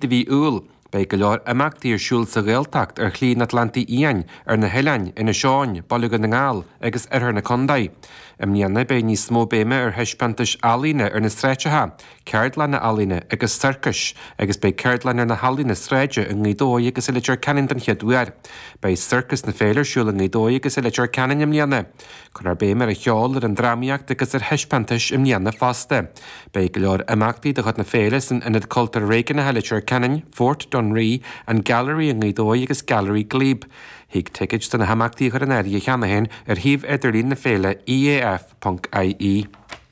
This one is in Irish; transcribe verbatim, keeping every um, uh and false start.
de mhí Iúil. Beidh go leor imeachtaí ar siúl sa Ghaeltacht ar Shlí an Atlantaigh Fhiáin, ar na hoileáin, Inis Eoghain, Baile Dhún na nGall agus oirthear na contae. I mbliana beidh níos mó béime ar thaispeántais ealaíne ar na sráideacha, ceardlanna ealaíne agus sorcais, agus beidh ceardlann ar na healaíona sráide i nGaoth Dobhair agus i Leitir Ceanainn den chéad uair. Beidh Sorcas na Féile ar siúl i nGaoth Dobhair agus i Leitir Ceanainn i mbliana. Cuirfear béim ar an cheol, ar an drámaíocht agus ar thaispeántais i mbliana fosta. Beidh go leor imeachtaí de chuid na féile san Ionad Cultúir Réigiúnach i Leitir Ceanainn, Fort Dunree, an Gallery i nGaoth Dobhair agus Gallery Glebe. Thig ticéid do na himeachtaí a chur in áirithe cheana féin ar shuíomh idirlín na féile EAF.ie.